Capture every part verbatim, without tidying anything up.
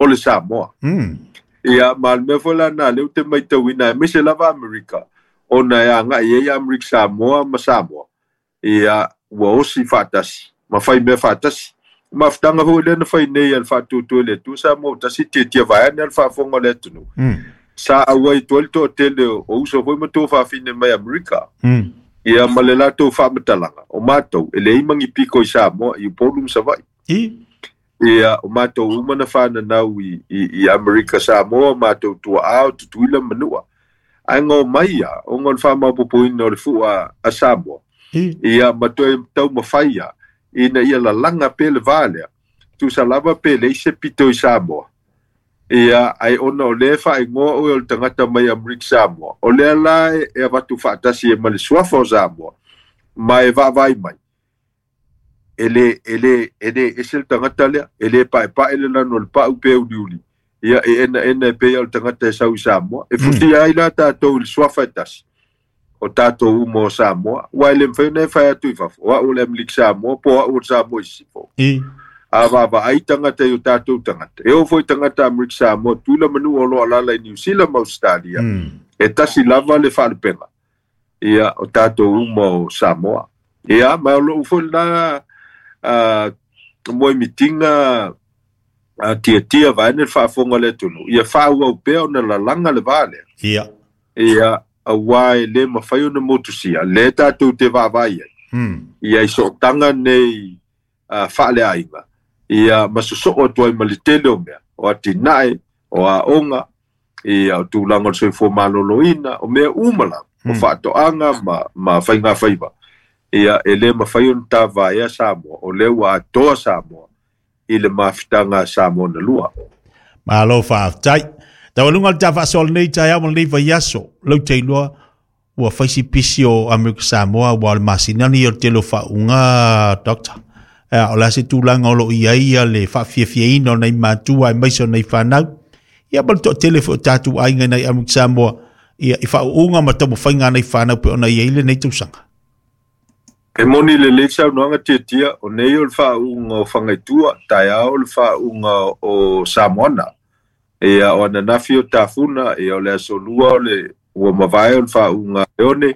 o le Samoa. Mm. Ia ma le mea foi la na lea ou te matauina aemaise lava Amerika ona e agai ai Amerika Samoa ma Samoa. Ia ua osi faatasi ma fai mea faatasi. Mafutaga foi lea na fai nei a le faatuatua i le Atua Samoa ua tasi tiatia vaeane le faafofoga o le atunuu. Mm. Sa auai atu ai le toatele o uso foi ma tuafafine mai Amerika. Mm. Ia ma le latou faamatalaga o matou e leai magi piko i Samoa i Upolu ma Savaii. I. Ia o matou uma na fananau i, i, i Amerika Samoa, matou tuaa o Tutuila ma Manua. Ae gao mai ia, ona o le faamaopoopoina o le fua a Samoa. I. Ia ma toe taumafai ia, ina ia lalaga pea le va lea. Tusa lava pe leai se pito i Samoa. Ia, ai ona o lea faaigoa oe o le tagata mai Amerika Samoa. O lea la e, e avatu faatasi e ma le suafa o Samoa, ma e vaavaai mai. E le, e le, e le ese le tagata lea, e le paepae le lanu o le pau pe uliuli. Ia, e ena ena e pei o le tagata e sau i Samoa. E futia ai la tātou i le suafa e tasi o tātou uma o Samoa. Ua e le mafai ona e fai atu i fafo. O au o le Amerika Samoa, po o au o le Samoa i sisifo. I. A vaavaai tagata i o tātou tagata. E oo foi tagata Amerika Samoa, Tutuila manu o lo o alaala i Niu Sila ma Australia. Mm. E tasi lava le faalupega. Ia, o tātou uma o Samoa. Ia, ma o lou foi lena uh, moemitiga uh, tiatia vaeane le faafofoga o le atunuu. Ia faaauau pea ona lalaga le va lea. Ia. Ia, auā e lē mafai ona motusia, lea tatou te vaavaai ai. Mm. Ia i sootaga nei uh, faaleaiga. Ia ma sosoo atu ai ma le tele o mea, o atinae, o aoga, ia o tulaga o le soifua malōlōina, o mea uma lava, o Mm. faatoaga ma, ma faigafaiva. Ia e lē mafai ona tavaea Samoa, o lea ua atoa Samoa i le mafutaga a Samoa na lua. Malo faafetai. Taualuga le ta faasoa lenei taeao ma lenei vaiaso. Lau te iloa ua fai si pisi o Amerika Samoa ua o le masinani o le tele o faauuga, Doctor. Ea, o le a se tulaga o loo i ai ia le faafiafiaina o nai matua aemaise o nai fanau. Ia ma le toatele foi o tatou aiga i nai Amerika Samoa ia i faauuga ma taumafaiga a nai fanau pe ona i ai lenei tausaga. E moni lelei le saunoaga tiatia, o nei o le faauuga o Fagaitua, taeao o le faauuga o Samoana. Ia o ananafi o Tafuna, ia o le aso lua o le ua mavae o le faauuga Leone,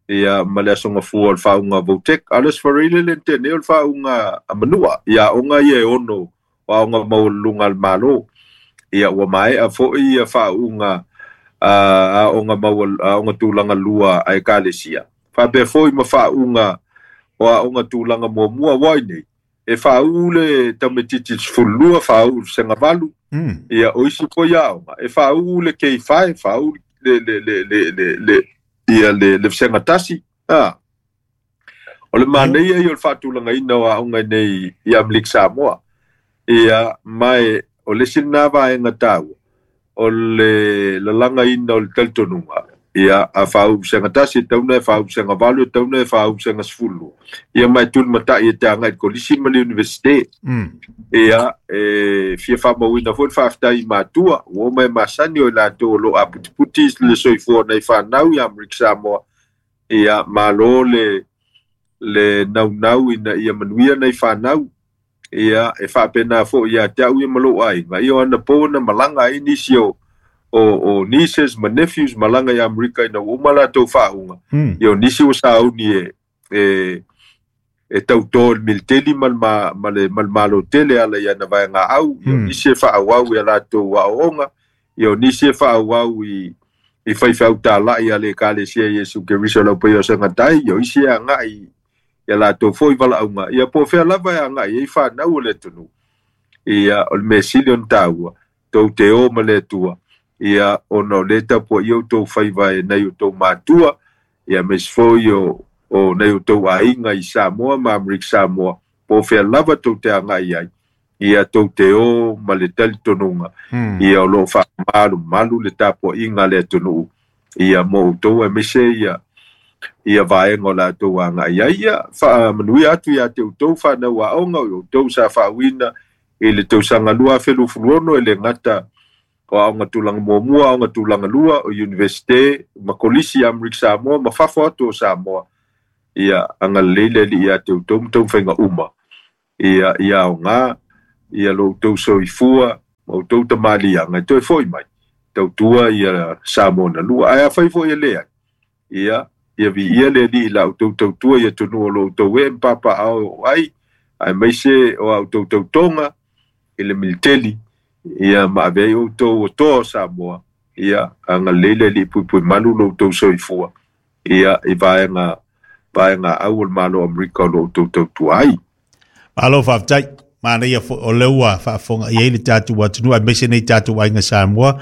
ia ma le aso gafua o le faauuga Votek. A o le aso Faraile le na nei o le faauuga a Manua, ia aoga ia e ono o aoga maualuluga a le Malo. Ia ua maea foi ia faauuga a aoga maua aoga tulaga lua a ekalesia. Faapea foi ma faauuga o aoga tulaga muamua ua ai nei. E faauu le tamaitiiti i le sefululua, faauu i le vasega valu. Mm. Ia o isi foi aoga, e faauu le K five, faauu le, le, le, le, le, le, ia le, le vasega tasi. Ah. O le manaia ia o le faatulagaina o aoga nei i Amerika Samoa. Ia, ma e, o le isi lena vaega taua, o le lalagaina o le talitonuga. Ia, a faauu vasega tasi, e tatau ona e faauu vasega valu, e tatau ona e faauu vasega sefululua. Ia, ma e tulimatai e te agai i le kolisi ma le universite. Mm. Ia, e fia faamauina foi le faafetai i matua, ua uma e masani o i latou o loo aputiputi le soifua o nai fanau i Amerika Samoa. Ia, malo le, le naunau ina ia manuia nai fanau. Ia, e faapena foi ia te au ia ma lou aiga. Ia o anapo na malaga ai nisi o, o, o nieces ma nephews malaga i Amerika ina ua uma latou faauuga. Mm. Ia o nisi ua sauni e, e, e tautō i le militeli ma le ma, ma le, ma le malo tele ala i ana vaegaau. Ia o Mm. nisi e faaauau i a latou aoaoga. Ia o nisi e faaauau i, i faifeau talai a le ekalesia Iesu Keriso lau paia o segatai. Ia o isi e agai ia latou foi valaauga. Ia po o fea lava e agai ai fanau o le atunuu. Ia o le mea sili ona taua, tou te o ma le Atua. Ia ona o lea e tapuaia outou faiva e nai outou matua, ia aemaise foi o, o nai outou aiga i Samoa ma Amerika Samoa, po o fea lava tou te agai ai. Ia tou te o ma le talitonuga. Mm. Ia o loo faamalumalu le tapuaiga a le atunuu. Ia mo outou aemaise ia ia vaega o latou agai ai. Ia faamanuia atu ia te outou fanau aoga, o outou sa faauuina i le tausaga lua afe luafuluono e le gata o aoga tulaga muamua, aoga tulaga lua, o universite ma kolisi i Amerika Samoa ma fafo atu o Samoa. Ia agalelei le Alii ia te outou ma taumafaiga uma. Ia ia aoga, ia lo outou soifua Ma outou tamaliiaga e toe fo'i mai tautua ia Samoa na lua ae afai fo'i e leai ia ia viia le Alii i la outou tautua i atunuu o lo outou ee ma papaaao e oo ai aemaise o a outou tautoga i le militeli ia ma ave ai outou o toa o Samoa ia agalelei le Alii puipuimalu lo outou soifua ia i vaega vaega au o le Malo o Amerika o lo outou tautua ai. Malo faafetai. Manaia foi o lea ua faafofoga i ai le tatou atunuu aemaise nei tatou aiga Samoa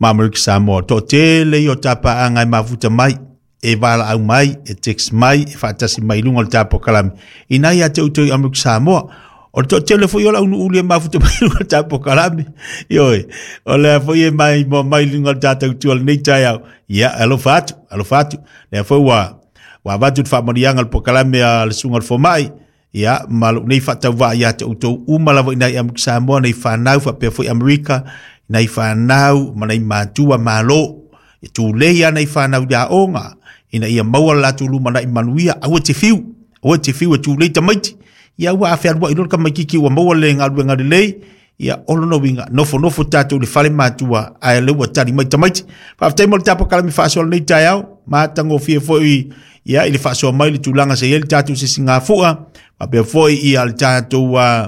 ma Amerika Samoa. Toatele ia o tapaaga e mafuta mai, e valaau mai, e text mai, e faatasi mai i luga o le tapokalame. Ina ia te outou i Amerika Samoa. O le toatele foi o le aunuuli e mafuta mai i luga o le tapokalame. Ioe, o lea foi e mai moa mai i luga o le tatou tua lenei taeao. Ia, alofa atu, alofa atu. Lea foi ua ua avatu le faamanuiaga o le pokalame a le susuga o le fomai. Ia, ma lou nei faatauvaa ia te outou uma lava i nai Amerika Samoa, nei whanau, faapea foi Amerika, nei whanau, ma nei matua malo. E tūlei a nei whanau ia onga, ina ia maua le latou lumanai manuia, aua te fiu, aua te fiu e tūlei tamaiti. Ia ua awhea rua i lora kamaikiki ua maua le ngaluenga lelei, ia olo no winga, nofo nofo tātou le fale matua, ae le ua tali mai tamaiti. Faafetai mo le tapokalame faasoa lenei taeao, matagofie foi ia i le faasoa mai le tulaga se i ai le tatou sisigafua, faapea foi ia le tatou uh,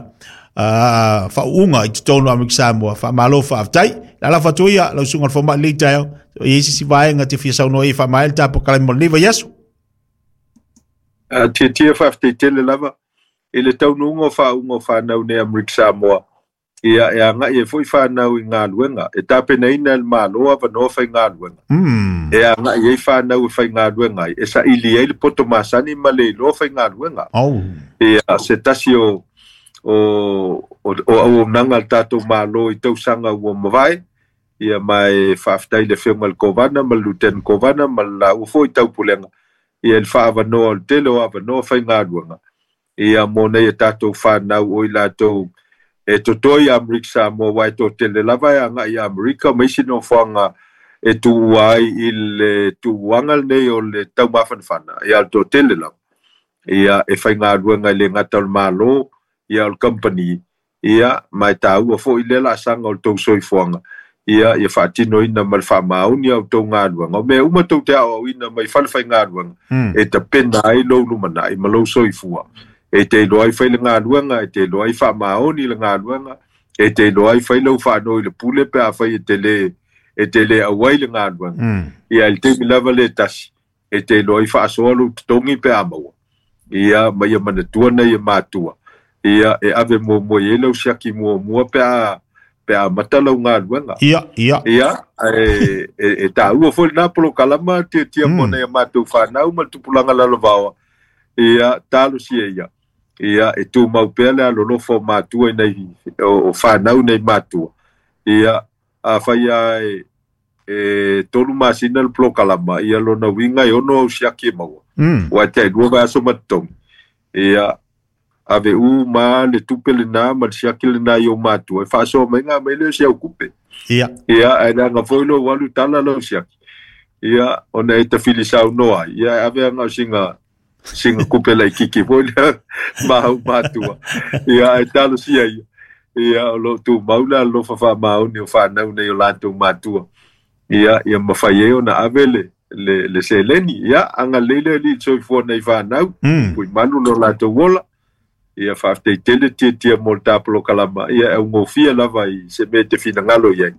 uh, faauuga i totonu o Amerika Samoa. Faamalo faafetai. Le alafa atu ia lau susuga o le fomai lenei taeao, e i ai se isi vaega te fia saunoa ai e faamaea le tapokalame mo lenei vaiaso. Uh, Tiatia faafetai tele lava i le taunuuga o faauuga o whanau nei Amerika Samoa. Ia e agai ai foi whanau i galuega e tapenaina e le Malo avanoa faigaluega. Mm. E agai ai whanau e faigaluega ai e saili ai le poto masani ma le iloa faigaluega. Oh. Ia se tasi o o o, o auaunaga a le tatou Malo i tausaga ua mavae ia ma e faafetai le afioga i le Kovana ma le Lieutenant Kovana ma le laua foi taupulega ia i le faaavanoa o le tele o avanoa faigaluega ia mo nei e tatou whanau o i latou e totoe i Amerika Samoa ua e toatele lava e agai i Amerika ma isi nofoaga e tuua ai i le tuuaga lenei o le taumafanafana ia o le toatele lava ia e faigaluega i le gata o le Malo ia o le company ia ma e taua foi lea laasaga o le tou soifuaga ia ia faatinoina ma le faamaoni a outou galuega o mea uma tou te aoaoina mai fale faigaluega Mm. e tapena ai lou lumanai ma lou soifua e te iloa ai fai le galuega e te iloa ai faamaoni le galuega e te iloa ai fai lau faanoi le pule pe afai e te le e te le auai le galuega Mm. ia i le taimi lava le tasi e te iloa ai faasoa lou totogi pe a maua ia ma ia manatua nei e matua ia e ave muamua i ai lau siaki muamua pe a pe a mata lau galuega Ia, ia. ia e, e, e taua foi lena polokalama tiatia mo Mm. nei a matou whanau ma le tupulaga lalovaoa ia talosia ia ia e tumau pea le alolofa o matua i nei o, o whanau nei matua ia afai a e, e tolu masina le polokalama ia lona uiga e ono au siaki e maua Mm. ua te lua vaiaso ma totogi ia ave uma le tupe lena ma le siaki lena i o matua e faasoa mai ga mai lea o si au kupe Ia. ia ae leaga foi lou alu tala lau siaki ia ona e tafili saunoa ai ia e ave aga o singa singa kupe laikiki foi lea ma au matua ia ae talosia ia ia o loo tumau le alolofa faamaoni o whanau nei o latou matua ia ia mafai ai ona ave le le le seleni ia agalelei le Alii i le soifua nei whanau Mm. pui malu lo latou ola ia faafetai tele tiatia mo le tapolokalama ia e augofie lava i se mea e te finagalo i ai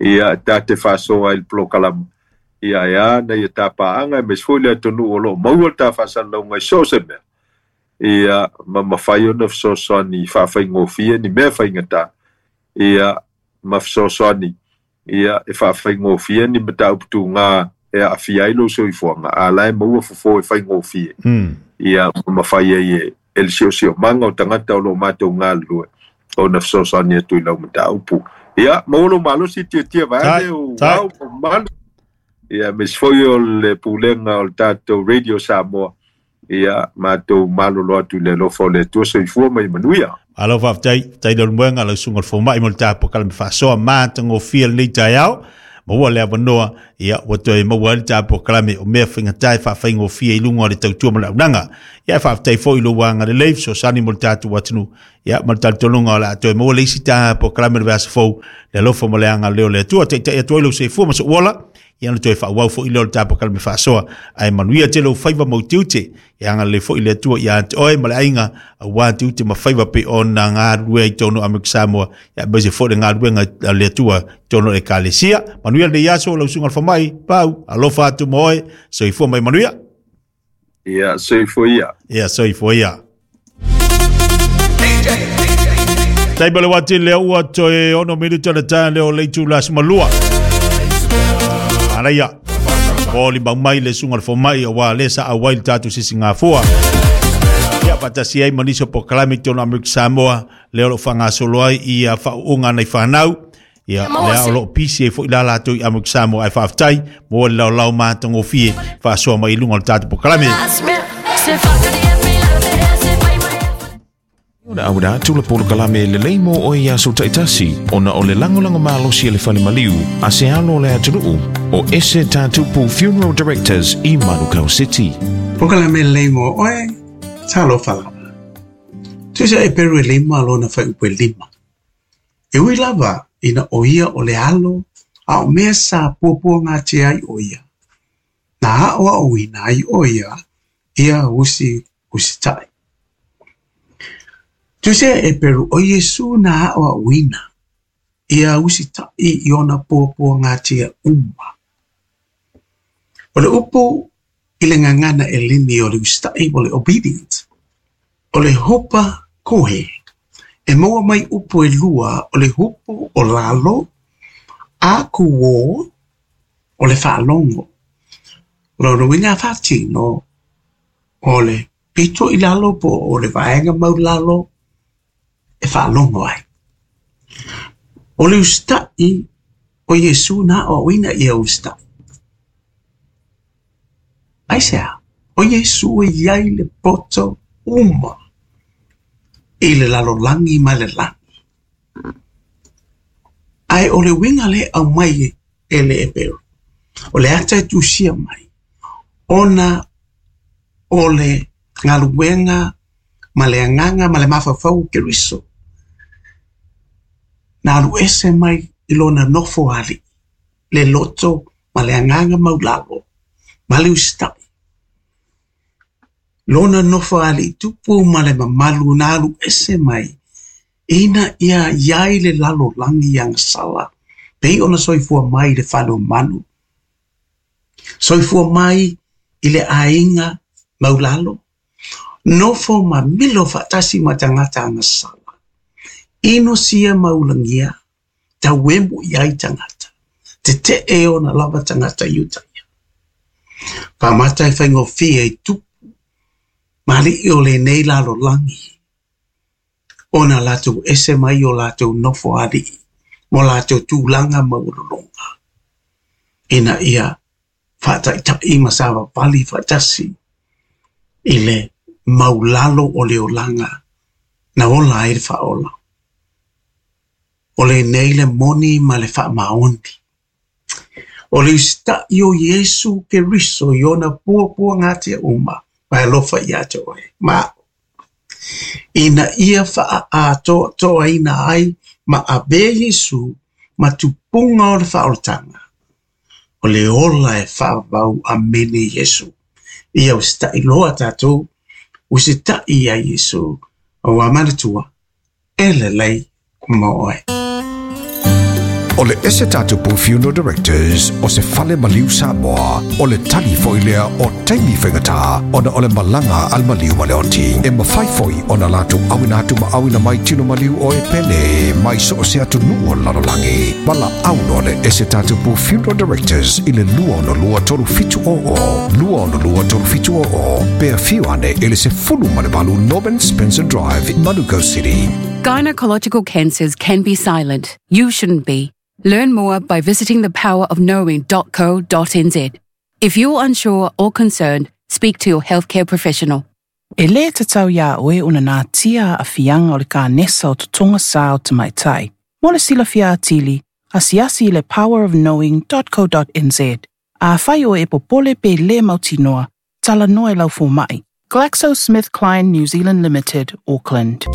ia ta te faasoa ai le polokalama ia e a nei e tapaaga aemaise foi le atunuu o loo maua le tafaasalalauga i so o se mea ia ma mafai ona fesoasoani faafaigofie ni mea faigata ia ma fesoasoani ia e faafaigofie ni mataupu tugā e aafia ai lou soifuaga a la e maua fofo e faigofie Mm. ia ma mafai ai e e le siosiomaga o tagata o loo matou galulue ona fesoasoani atu i lau mataupu ia maua lou malosi tiatia Tai, vaeane o tai. au ma mamalu ia aemaise foi o le pulega o le tatou Radio Samoa ia matou malolo atu i le alofa o le Atua soifua ma ia manuia. Malo faafetai, faafetai le Leulumoega lau susuga o le fomai mo le tapokalame faasoa matagofie lenei taeao. Maua le avanoa ia ua toe maua ai le ta polokalame o mea faigata e faafaigofie i luga o le tautua ma le auaunaga. Ia e faafetai foi i lou agalelei fesoasoani mo le tatou atunuu ia ma le talitonuga o le a toe maua le isi ta polokalame o le vaiaso fou le alofa ma le agalelei o le Atua. Taitai atu ai lou soifua ma sou ola ia na toe faaauau foi lea o le ta polokalame faasoa ae manuia tele ou faiva ma ou tiute. Ia agalelei foi le Atua ia te oe ma le aiga aua tiute ma faiva pei ona galulue ai i totonu o Amerika Samoa ia aemaise foi le galuega a le Atua i totonu o le Ekalesia. Manuia lenei aso lau susuga i le fomai, Pau, alofa atu ma oe, soifua mai manuia. Ia, soifua ia. Ia, soifua ia. Taimi o le uati lea ua toe ono minuta le tae lea o le itula sumalua. Manaia. O limau mai le susuga i le fomai aua lea sa auai le tatou sisigafua. Ia faatasi ai ma nisi o polokalame i totonu o Amerika Samoa lea o lo o faagasolo ai ia faauuga a nai fanau. Ia lea o lo o pisi ai foi la latou i Amerika Samoa ae faafetai mo le laolao matagofie faasoa mai i luga o le tatou polokalame. Ona auina atu le polokalame lelei mo oe i aso taitasi, ona o le lagolago malosi a le fale maliu a se alo o le atunuu o Ese Tatupu Funeral Directors i Manukau City. Polokalame lelei mo oe, talofa lava. Tusa e peru e lima lona faaiupu e lima. E ui lava ina o ia o le alo a o mea sa puapuagatia ai o ia. Na aʻoaʻoina ai o ia ia usi usitaʻi. Tusa e peru o Iesu na aʻoaʻoina ia usitaʻi i ona puapuagatia uma. O le upu i le gagana eleni o le usitaʻi o le obedient. O le hupa kohe. E maua mai upu e lua o le hupu o lalo a kuō o le faalogo. O lona uiga a faatino o le pito i lalo po o le vaega maulalo e faalogo ai. O le usitaʻi o Iesu na aʻoaʻoina ia usitaʻi. Aisea, o Iesu e iai le poto uma i le lalolagi ma le lagi. Ae o le uiga lea e aumai e le Eperu, o le ata e tusia mai, ona o le galuega ma le agaga ma le mafaufau o Keriso, na alu ese mai i lona nofo alii, le loto ma le agaga maulalo, ma le usitaʻi. Lona nofo alii tupu ma le mamalu na alu ese mai, ina ia iai le lalolagi agasala, pei ona soifua mai i le fale o manu, soifua mai i le aiga maulalo, nofo ma milo faatasi ma tagata agasala, inosia ma ulagia, tauemu i ai tagata, tetee ona lava tagata i uta ia. Faamata e faigofie i tupu, ma alii o lenei lalolagi, ona latou ese mai o latou nofo alii, mo latou tulaga maualuluga, ina ia faataʻitaʻi ma savavali faatasi i le maulalo o le olaga na ola ai le faaola. O lenei le moni ma le faamaoni. O le usitaʻi o Iesu Keriso i ona puapuagatia uma ma e alofa ia te oe ma aʻu. Ina ia faaatoatoaina ai ma avea Iesu ma tupuga o le faaolataga. O le ola e faavavau amene Iesu. Ia usitaʻi loa tatou, usitaʻi ia Iesu, aua manatua, e lelei mo oe. O le Ese Tatupu Funeral Directors o se fale maliu Samoa, o le tali foi lea o taimi faigata ona o le malaga a le maliu ma le oti. E mafai foi ona latou auina atu ma auina mai tino maliu o e pele mai so o se atunuu o le lalolagi. Valaau loa le Ese Tatupu Funeral Directors i le lua ono lua tolu fitu o o, lua ono lua tolu fitu o o, pe afio ane i le sefulu ma le valu Norman Spencer Drive, Manukau City. Gynecological cancers can be silent. You shouldn't be. Learn more by visiting the power of knowing dot co dot n z. If you're unsure or concerned, speak to your healthcare professional. E lē tatau iā oe ona natia aafiaga o le kanesa o totoga sā o tamaitai. Mo le silafia atili, Asiasi i le power of knowing dot co dot n z. Afai oe e popole pe le mautinoa, tala noa e lau fōmai. GlaxoSmithKline New Zealand Limited, Auckland.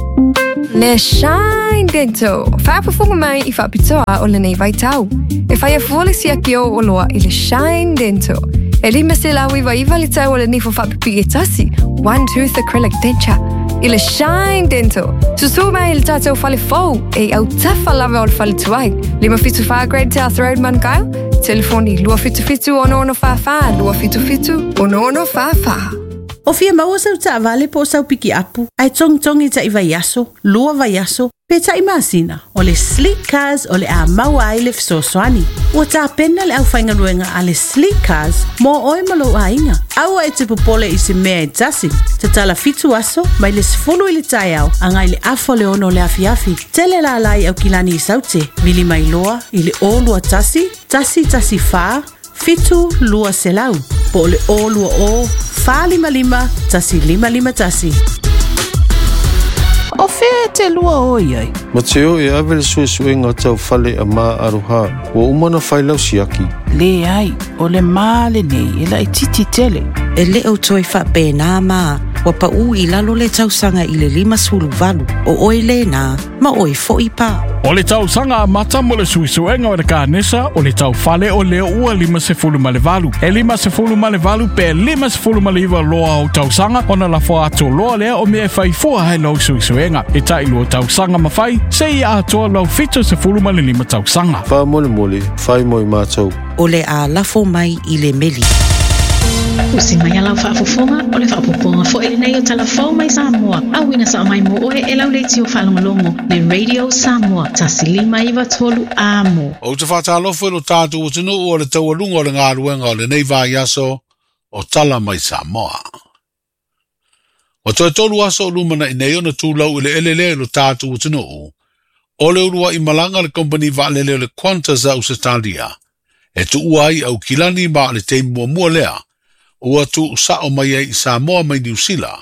Le Shine Dental. Whaapafunga mai i whaapitoa o lenei vaitau. E whaia fuole sia ki o oloa i le Shine Dental. E lima se lau iwa iwa le tau o le nifo whaapipi e tasi. One tooth acrylic denture. I le Shine Dental. Susu mai le tātou whale fou e au tawha lava o le whale tuai. Lima fitu wha Great South Road Manukau. Telefoni lua fitu fitu ono ono wha wha, lua fitu fitu ono ono wha wha. O fia maua sau taavale po o sau piki apu, ae togitogi taʻi vaiaso, lua vaiaso, pe taʻi masina, o le Sleek Cars o le a maua ai le fesoasoani. Ua tapena le aufaigaluega a le Sleek Cars mo oe ma lou aiga. Aua e te popole i se mea e tasi. Tatala fitu aso, mai le sefulu i le taeao, agai le afa o le ono o le afiafi. Tele lalai au kilani i saute, vili mai loa i le o lua tasi, tasi tasi fa, fitu lua selau. Po o le o lua o, wha lima lima, tasi lima lima tasi. O fea e te lua o iai? Ma te o e ave le suesuega tau fale a maa aroha, ua uma na whailau siaki. Le ai, o le maa le nei, e lai titi tele. E le o toi whape nā maa, wa pa u i lalo le tausanga i le lima sulu valu, o oi le nā, ma oi fo i pā. O le tausaga amata mo le suesuega o le kanesa o le taufale o lea ua lima sefulu ma le valu. E lima sefulu ma le valu pe lima sefulu ma le iwa loa o tausaga ona lafo atu loa lea o mea e faifua hai lau suesuega. E tai lua tausaga mawhai, se i atoa lau fito sefulu ma le lima tausaga. Wha mole mole, whai moi mātou. O le a lafo mai i le meli. Usi mai a lau faafofoga o le faapopoga foʻi lenei o talafou mai Samoa. Auina sao mai mo oe e lau leitio faalogologo le Radio Samoa tasi lima iva tolu amo. O te whātālofo i lo tātou o tunu o le taualunga o le ngāruenga o lenei vaiaso o tala mai Samoa. O toe tolu aso o lumana i nei ona tūlau i le elele i lo tātou o tunu o le urua i malanga le kompani vaalele o le Qantas a Ausetalia. E tuua ai au kilani ma le teimi muamua lea ua tu sao mai ai i Samoa mai Niu Sila,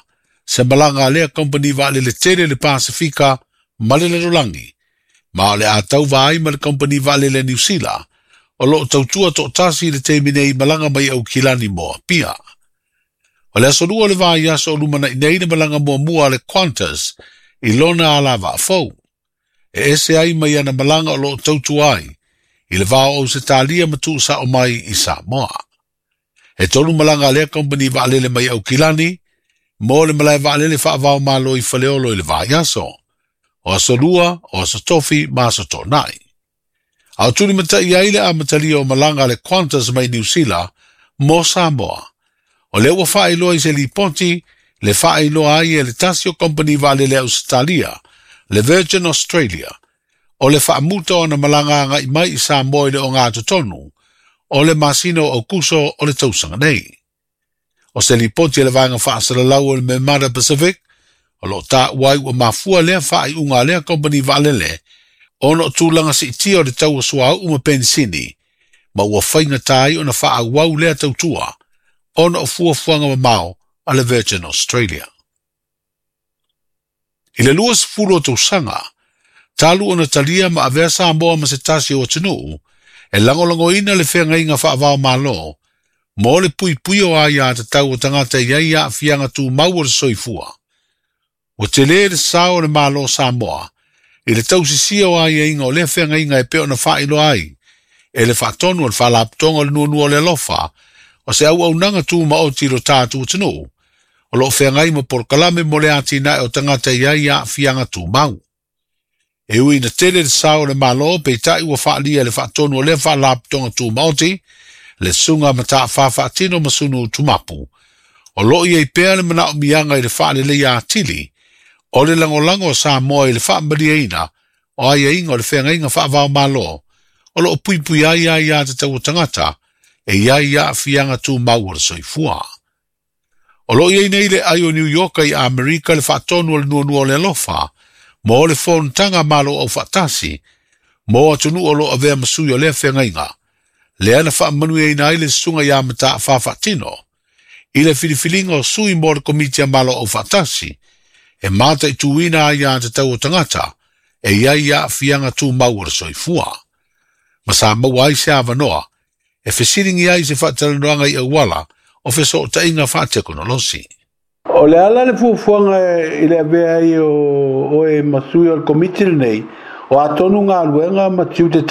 se malanga lea kompani vaalele tele le Pasifika ma le lalolagi, ma o le a tauva ai ma le kompani vaalele Niu Sila, o loo tautua toʻatasi i le taimi nei malaga mai Aukilani mo Apia. O le aso lua o le vaiaso o lumanaʻi nei le malaga muamua a le Qantas i lona alavaa fou. E ese ai mai ana malaga o loo tautua ai i le vao o Ausetalia ma tuusao mai i Samoa. E tolu malaga a lea kompani vaalele mai Aukilani mo le malae vaalele faavao malo i Faleolo i le vaiaso. O aso lua, o aso tofi ma aso toʻanaʻi. A o tuli mataʻi ai le amatalia o malaga a le Qantas mai Niu Sila mo Samoa. O lea ua faailoa i se lipoti le faailoa ai e le tasi o kompani vaalele Ausetalia, le Virgin Australia, o le faamuta ona malaga agaʻi mai i Samoa i le ogatotonu o le masina o Aukuso o le tausaga nei. O se lipoti e le vaega faasalalau o le Memada Pacific, o loo taua ai ua mafua lea faaiuga a lea kompani vaalele ona o tulaga siitia o le tau o suauu ma penisini, ma ua faigata ai ona faaauau lea tautua ona o fuafuaga mamao a le Virgin Australia. I le lua sefulu o tausaga, talu ona talia ma avea Samoa ma se tasi o atunuu, e lagolagoina le feagaiga faavao malo, mo le puipui o aiā tatau o tagata i ai aafiaga tumau o le soifua. Ua telē le sao o le Malo Samoa, i le tausisia o aiaiga o lea feagaiga e pei ona faailoa ai, e le faatonu o le faalapotoga o le nuanua o le alofa, o se auaunaga tumaoti i lo tatou atunuu, o loo feagai ma polokalame mo le atinae o tagata i ai aafiaga tumau. E ui na tele le sao o le Malo peitai ua faalia le faatonu o lea faalapotoga tumaoti, le suga mataafafaatino ma sunu tumapu. O loo iai pea le manaomiaga i le faaleleia atili, o le lagolago o Samoa i le faamaliaina o aiaiga o le feagaiga faavao malo, o loo puipui ai aiā tatau o tagata e iai aafiaga tumau o le soifua. O loo iai nei le ai o New York i Amerika le faatonu o le nuanua o le alofa, mo le fonotaga Malo Aufaatasi, mo atunuu o loo avea ma sui o lea feagaiga, lea na faamanuiaina ai le susuga iā Mataafafaatino, i le filifiliga o sui mo le Komiti a Malo Aufaatasi, e mataituina aiā tatau o tagata, e iai aafiaga tumau o le soifua. Ma sa maua ai se avanoa e fesiligia ai se faatalanoaga i auala o fesootaiga faatekonolosi. O le ala le fuafuaga i le avea ai o oe ma sui o le komiti lenei, o atonu galuega ma tiute.